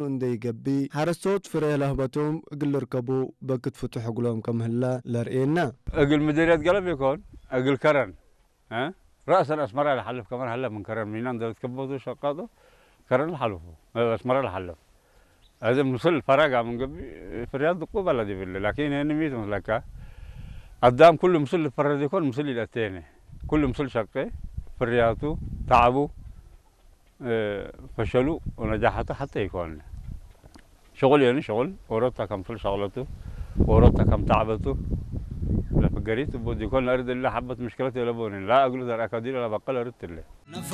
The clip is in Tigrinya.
እንደይገቢ ሓረስቶት ፍረ ለህበቶም እግል ርከቡ በክት ፍቱሕ እግሎም ከምህለ ለርእየና። እግል ምድርያት ገለብ ይኮን እግል ከረን እ? ራእሰን አስመራ ለሓልፍ ከመን ሀለ ምን ከረን ሚናን ደረት ከበቱ ሸቃጦ ከረን ለሓልፉ አስመራ ለሓልፍ እዚ ምስል ፈረጋ ምን ገቢ ፍርያት ድቁ በለድ ይብል ላኪን ይህን ሚት ምስለካ አዳም ኩሉ ምስል ልፈረድ ይኮን ምስል ይለቴነ ኩሉ ምስል ሸቄ ፍርያቱ ታዕቡ ፈሸሉ ወነጃሓቱ ሓተ ይኮን ሸቁል የኒ ሸቁል ወሮታ ከም ፍል ሸቅለቱ ወሮታ ከም ታዕበቱ ለፍገሪት ቡ ዲኮን ለእርድ ላ ሓበት ምሽክለት የለቦን ላ እግሉ ዘርአካ ዲሎ ለበቀል እርት ለ